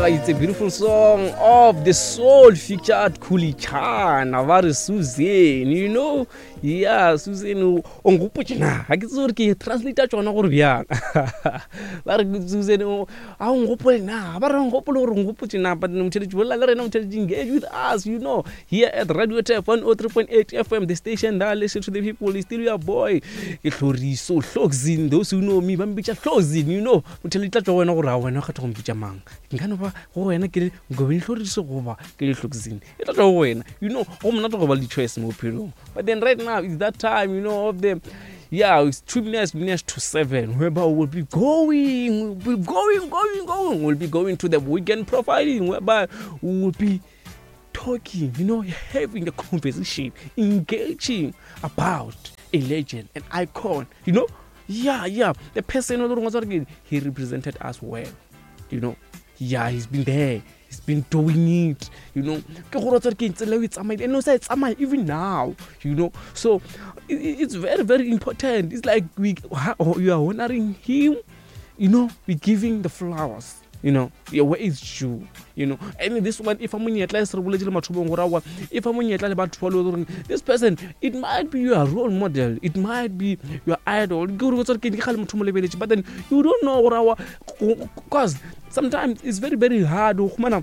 It's a beautiful song of the soul featured Khuli Chana ba re Susan, you know. Yeah, Susan o nkgopotše na. Ga ke tsebe gore ke translate tšona gore bjang. Ba re Susan o a o nkgopole na. Ba re nkgopole gore nkgopotše na. But motheletši bolela le rena motheletši engage with us, you know. Here at Radio Tef 103.8 FM, the station that listen to the people is still your boy. Ke Hloriso Hlokzin, those who know me ba mpitša Hlokzin, you know. Motheletši tla tšwa go wena gore a wena o kgetha go mpitša mang. Nka no ba go wena ke le Ngobeni Hloriso goba ke le Hlokzin. E tla tšwa go wena. You know, go monate go ba le di-choice mo bophelong. But then right now it's that time, you know, of the yeah, it's 2 minutes to 7, whereby we'll be going, we'll be going, going, going. We'll be going to the weekend profiling, whereby we will be talking, you know, having a conversation, engaging about a legend, an icon, you know. Yeah, yeah, the person he represented us well, you know. Yeah, he's been there, he's been doing it, you know. Ke gore tsare ke tsela e tsamaile and o sa e tsamaya even now, you know. So it's very, very important. It's like we you are honoring him, you know, we giving the flowers, you know, yeah, where is due, you know. And this one, if monyetla e se re boletse le mathomong gore aowa if monyetla le batho ba le gore this person, it might be your role model, it might be your idol, ke gore tsare ke kgale motho mo lebeletše, but then you don't know gore aowa, cause sometimes it's very, very hard go khumana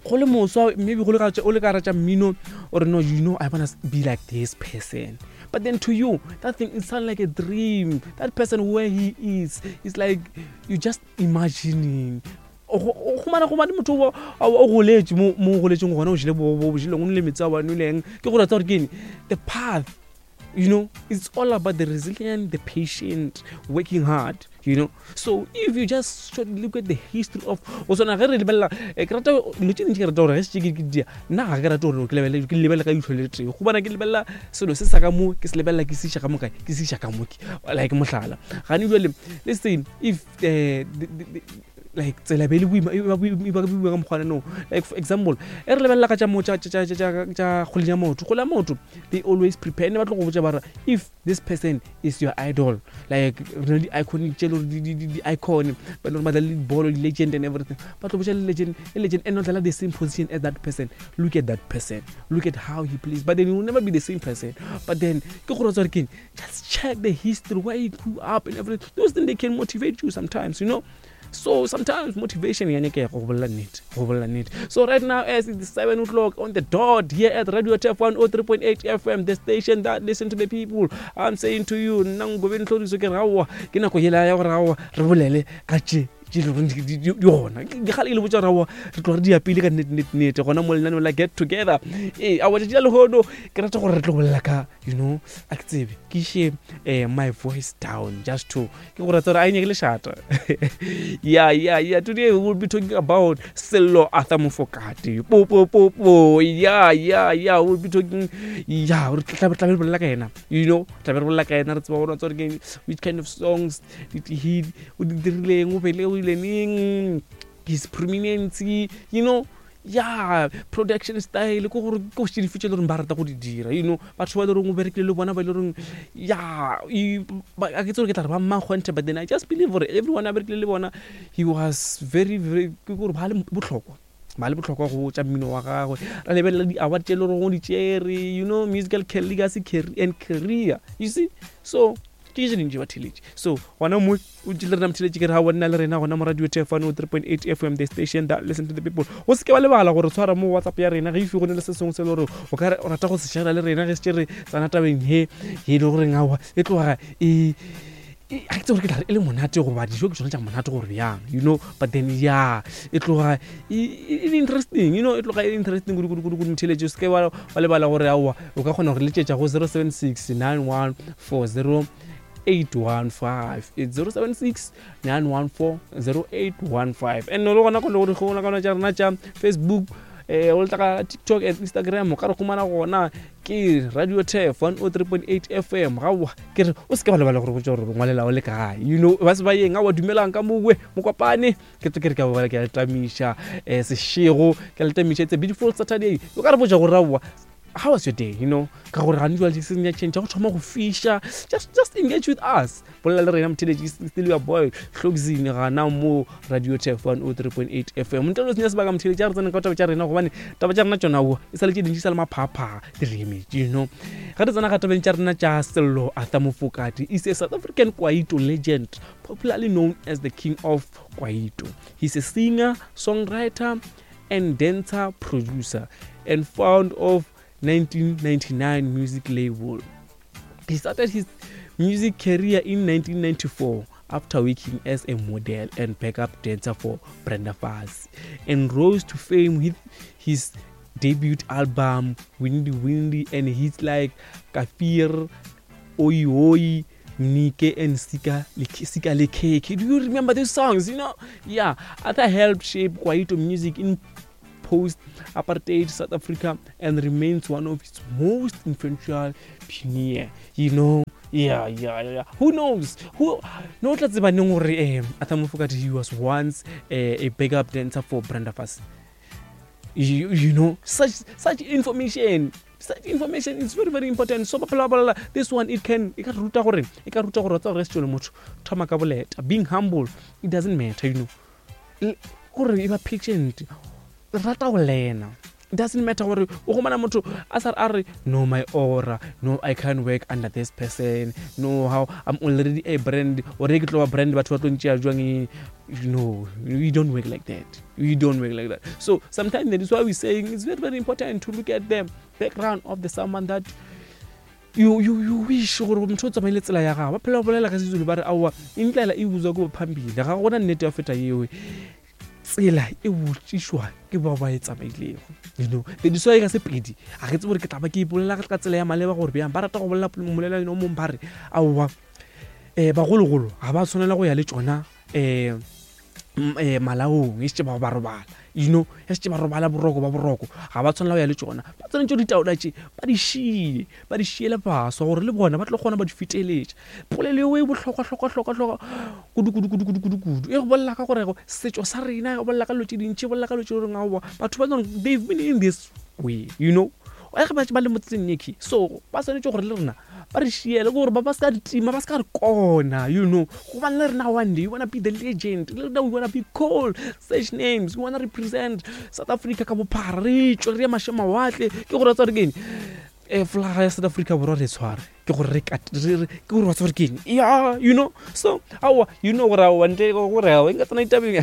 go le moswa, maybe go le ka o le ka ratša mmino or no, you know, I wanna be like this person, but then to you that thing, it sound like a dream. That person where he is, it's like you just imagining. O humana go bane motho o goletše mo o goletšeng gona, o jele bo bo jeleng, o nole metsi a wa nweleng, ke gore tsa gore ke eng the path, you know. It's all about the resilient, the patient, working hard, you know. So if you just should look at the history of o swana ge re lebelela, ke rata dilo tše dintši, ke rata gore ge setse ke dia nna ga ke rate gore ke lebelele, ke lebelele ka leihlo le tee, gobane ke lebelela selo se sa ka mo, ke se lebelela ke se iša ka mo kae, ke se iša ka mo ke like mohlala gane jale, let's say if like tsela be le boima, e ba boima ka mokgwa no, like for example e re lebelela ka tša mo tša kgwele ya maoto, kgwele ya maoto they always prepare ne ba tlo go botša bara if this person is your idol, like re na le di-iconic tše le gore di-icon ba le gore ba dlala le dibolo, di-legend and everything, ba tlo botša le legend, le legend and not dlala the same position as that person. Look at that person, look at how he plays, but then he will never be the same person. But then ke gore tswa re keng, just check the history where he grew up and everything. Those things, they can motivate you sometimes, you know. So sometimes motivation ya nyakega, go bolela nnete, go bolela nnete. So right now, as it's 7 o'clock on the dot here at Radio Tef 103.8 FM, the station that listen to the people, I'm saying to you, nna Ngobeni Hloriso ke raowa, ke nako yela ya gore aowa re bolele ka tše tše le goreng di gona, ke gale ke le botša gore aowa re tloga re di ya pele ka nnete, nnete, nnete gona mo lenaneo la Get Together. Ee, aowa tšatši la lehono ke rata gore re tlo bolela ka, you know, a ke tsebe ke iše my voice down just to ke go rata gore a e nyake lešata. Yeah, today we will be talking about Sello Arthur Mofokate, po po po po. Yeah, we will be talking, yeah, re tla tla re bolela ka yena, you know, tla be re bolela ka yena, re tseba gore tsore ke which kind of songs did he o di dirileng, o bele o ile neng, his prominence, you know, yeah, production style, ke gore ke go dife tše le goreng ba rata go di dira, you know, batho ba le goreng o berekile le bona, ba le goreng, yeah, a ke tse gore ke tla re ba mmakgonthe, but then I just believe gore everyone a berekile le bona, he was very, very, ke gore ba le bohlokwa, ba le bohlokwa go tša mmino wa gagwe. Ra lebelela di-award tše le goreng o di tšere, you know, musical legacy and career, you see. So ke tše dintši ba theletše. So gona mo o tšile rena motheletše, ke re ga nna le rena gona mo Radio Tef 103.8 FM, the station that listen to the people. Go se ke ba lebala gore tshwara mo WhatsApp ya rena ge ife go ne le se sengwe se le gore o ka o rata go se share le rena ge se re tsana tabeng he e le goreng aowa e tloga e ga ke tse gore ke tla re e le monate goba dijo ke tsone tša monate gore bjang, you know. But then yeah, e tloga e le interesting, you know, e tloga e le interesting kudu kudu kudu kudu. Motheletše o se ke wa lebala gore aowa o ka kgona gore letšetša go 076 91 40 815. It's 076 914 0815. And le gona go le gore gona ka tša rena tša Facebook, o le tla ka TikTok and Instagram, o ka re humana gona ke Radio Tef 103.8 FM. Gaowa ke re o se ke wa lebala gore botša gore ngwalela o le kae, you know, ba se ba yeng aowa dumelang ka mowe mokopane, ke tlo ke re ke a ke a le tamiša, sešego ke a le tamiša. It's a beautiful Saturday. O ka re botša gore aowa How was your day, you know? Ka gore gane jwale season ya change, go thoma go fisha. Just engage with us. Bolela le rena motheletši, still your boy Hlokzini gana mo Radio Tef 103.8 FM. Ntle le senya sebaka motheletši, a re tsene ka taba tša rena gobane taba tša rena tšona wo e sa le tše dintši sa le maphapha di re emetše, you know. Ge re tsena ga tabeng tša rena tša Sello Arthur Mofokate is a South African Kwaito legend, popularly known as the King of Kwaito. He's a singer, songwriter and dancer producer and founder of 1999 music label. He started his music career in 1994 after working as a model and backup dancer for Brenda Fassie, and rose to fame with his debut album Windy Windy and hits like Kafir, Oi Oi, Nike and Sika Sika Lekeke. Do you remember these songs? You know? Yeah. Arthur helped shape Kwaito music in post-apartheid South Africa and remains one of its most influential pioneer. You know? Yeah, yeah, yeah. Who knows? Who no tla tseba neng gore eh Arthur Mofokate he was once a backup dancer for Brenda Fassie. You know, such information, such information is very, very important. So blah, blah, blah. This one, it can, e ka ruta gore, e ka ruta gore wa tseba gore se motho thoma ka boleta. Being humble, it doesn't matter, you know. Gore e ba patient, rata go lena. It doesn't matter gore o gomana motho a sa a re no my aura, no I can't work under this person, no how I'm already a brand, or ke tlo ba brand batho ba tlo ntšea jwang. No, we don't work like that. We don't work like that. So sometimes that is why we're saying it's very, very important to look at the background of the someone that you wish gore motho o tsamaile tsela ya gagwe. Ba phela ba bolela ka Sezulu ba re aowa indlela e buzwa ke bophambili, ga gona nnete ya feta yeo. Tsela e botšišwa ke bao ba e tsamailego, you know. That is why ka Sepedi ga ke tsebe gore ke tla ba ke ipolela ka tsela ya maleba gore bjang ba rata go bolela molela o mongwe ba re aowa bagologolo ga ba tshwanela go ya le tšona malaong e šetše ba ba robala, you know, e šetše ba robala boroko ba boroko ga ba tshwanela go ya le tšona. Ba tshwanetse ditaola tše ba di šie, ba di šiele baswa gore le bona ba tlo kgona ba di feteletša. Polelo eo e bohlokwa hlokwa hlokwa hlokwa kudu kudu kudu kudu kudu kudu. E go bolela ka gore setšo sa rena, e go bolela ka dilo tše dintši, e bolela ka dilo tše goreng aowa batho ba they've been in this way, you know, ge ba ba le mo tseleng ye, so ba swanetše gore le rena ba re šiele gore ba se ka re tima, ba se ka re kona, you know. Gobane le rena one day we wanna be the legend, le rena we wanna be called such names, we wanna represent South Africa ka bophara, re tšwe re ye maše mawatle. Ke gore wa tseba gore ke eng, flaga ya South Africa borwa re tshware, ke gore re ke gore wa tseba gore ke eng, yeah, you know. So aowa, you know gore aowa ntle gore aowa nka tsena ditabeng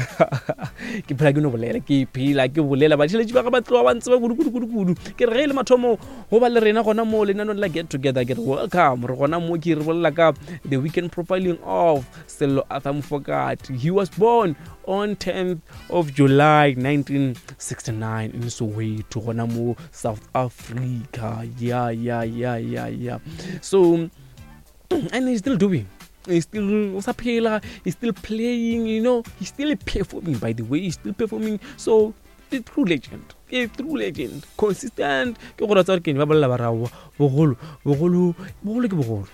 ke phela ke no bolela, ke phela ke bolela. Batheeletši ba ga ba tloga ba ntseba kudu kudu kudu kudu. Ke re ge e le mathomo go ba le rena gona mo lenanong la Get Together, ke re welcome. Re gona mo ke re bolela ka the weekend profiling of Sello Arthur Mofokate. He was born on 10th of July 1969 in Soweto, gona mo South Africa. Yeah, yeah, yeah, yeah, yeah. So and he's still doing, he's still o sa phela, he's still playing, you know, he's still performing, by the way, he's still performing. So a true legend, a true legend, consistent. Ke gore tsa gore ke ba bolela ba raowa bogolo, bogolo, bogolo ke bogolo,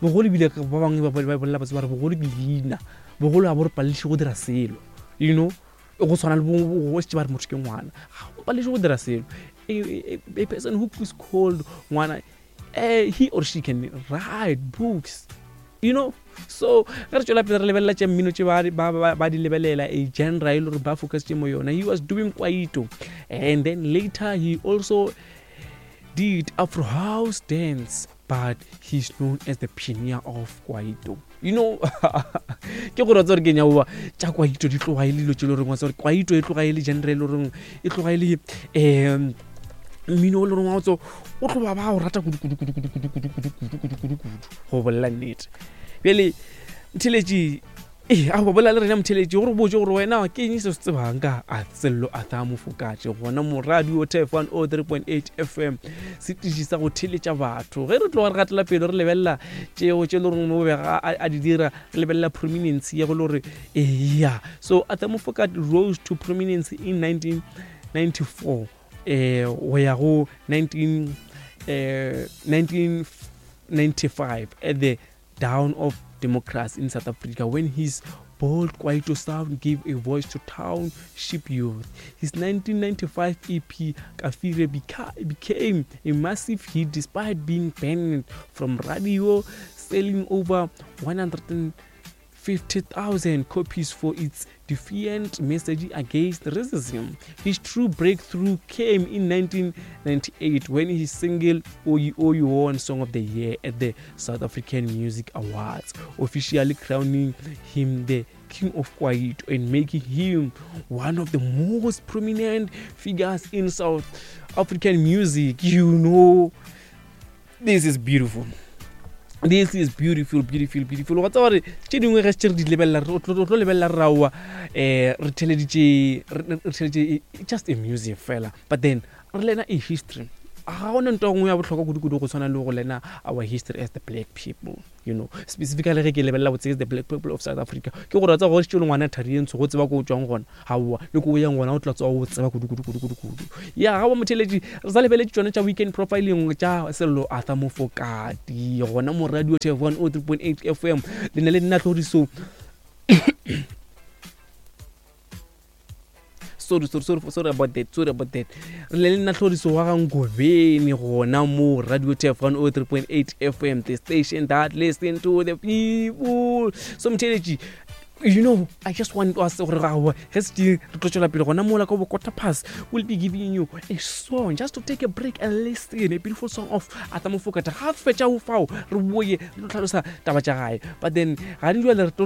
bogolo ebile ba bangwe ba bolela ba re bogolo ke leina, bogolo ga bo re palediše go dira selo, you know. Go tshwana le bo šetše ba re motho ke ngwana, ga o palediše go dira selo. A person who is called ngwana, he or she can write books, you know. So ge re tšwela pele re lebelela tša mmino tše ba di lebelela a genre e le gore ba focusitše mo yona. He was doing kwaito, and then later he also did Afro house dance, but he's known as the pioneer of kwaito, you know. Ke gore wa tseba gore ke nyaoa tša kwaito di tloga e le dilo tše le goreng wa tseba gore kwaito e tloga e le genre e le goreng e tloga e le mmino o le goreng wa tso o tloga ba o rata kudu kudu kudu kudu kudu kudu kudu kudu kudu kudu kudu go bolela nnete. Bjale motheeletši, ee, a go bolela le rena motheeletši gore botse gore wena ke eng se se tsebang ka Sello Arthur Mofokate gona mo Radio Tef 103.8 FM, setiši sa go theeletša batho. Ge re tloga re gatela pele re lebelela tšeo tše le goreng mo bega a di dira, re lebelela prominence ya go le gore eya. So Arthur Mofokate rose to prominence in 1994 go ya go 1995 at the dawn of democracy in South Africa, when his bold kwaito sound gave a voice to township youth. His 1995 EP Kaffir became a massive hit despite being banned from radio, selling over 150,000 copies for its defiant message against racism. His true breakthrough came in 1998 when his single Oyi Oyi won Song of the Year at the South African Music Awards, officially crowning him the King of Kwaito and making him one of the most prominent figures in South African music. You know, this is beautiful. This is beautiful, beautiful, beautiful. Wa tseba gore tše dingwe ge tše re di lebelela, re tlo lebelela re raowa, re theleditše just a music fela, but then re lena a history. Ga gona nto nngwe ya bohlokwa kudu-kudu go tshwana le go lena our history as the black people, specifically ge ke lebelela botse the black people of South Africa. Ke gore wa tseba gore le ngwana thari e ntsho go tseba ko o tswang gona, gaowa le ko o yang gona o tla tswa o tseba kudu-kudu-kudu-kudu. Ya ga ba motheletši, re sa lebeletše tšone tša weekend profiling tša Sello Arthur Mofokati gona mo Radio Tef 103.8 FM. Le ne le nna Tlhoriso. Sorry, sorry, sorry, sorry about that, sorry about that. Re le nna Tlhoriso wa Gangobeni gona mo Radio Tef 103.8 FM, the station that listen to the people. So motheletši, I just want us gore ga ge se re tlo tšwela pele gona mola ka bo quarter past, we'll be giving you a song just to take a break and listen a beautiful song of Arthur Mofokate. Ga fetša o fao re boye re tlo tlhalosa taba tša gae, but then ga di jwale re tlo